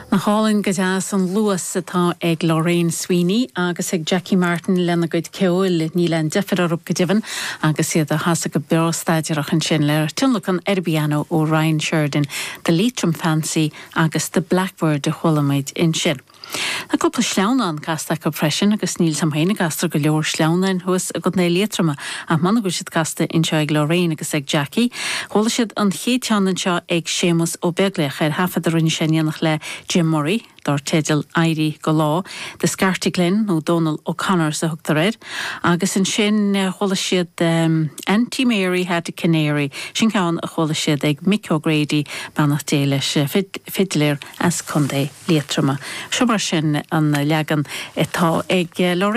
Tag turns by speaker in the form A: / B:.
A: Nach álainn go deas an luas atá ag Lorraine Sweeney agus ag Jackie Martin lena gcuid ceoil, níl aon deifir orthu go deimhin agus iad á chasadh go breá staidéarach ansin le tionlacan ar an bpianó ó Ryan Sheridan, The Leitrim Fancy agus The Blackbird a chuala muid ansin. Tá cúpla sleamhnán casta acu freisin agus níl 's a'm féin an gcastar go leor sleamhnáin thuas i gContae Liatroma ach m'anam go bhfuil siad casta anseo ag Lorraine agus ag Jackie. Chuala siad an chéad cheann anseo ag Séamus Ó Beaglaoich ar thaifead a rinne sé in éineacht le Jim Murray dar teideal Éirí go Lá, The Scartaglin nó Dónal O'Connors a thugtar air agus ansin chuala siad Auntie Mary Had a Canary, sin ceann a chuala siad ag Mick O'Grady, beannacht Dé leis, fidléir as Contae Liatroma. Seo mar sin an leagan atá ag Lorraine.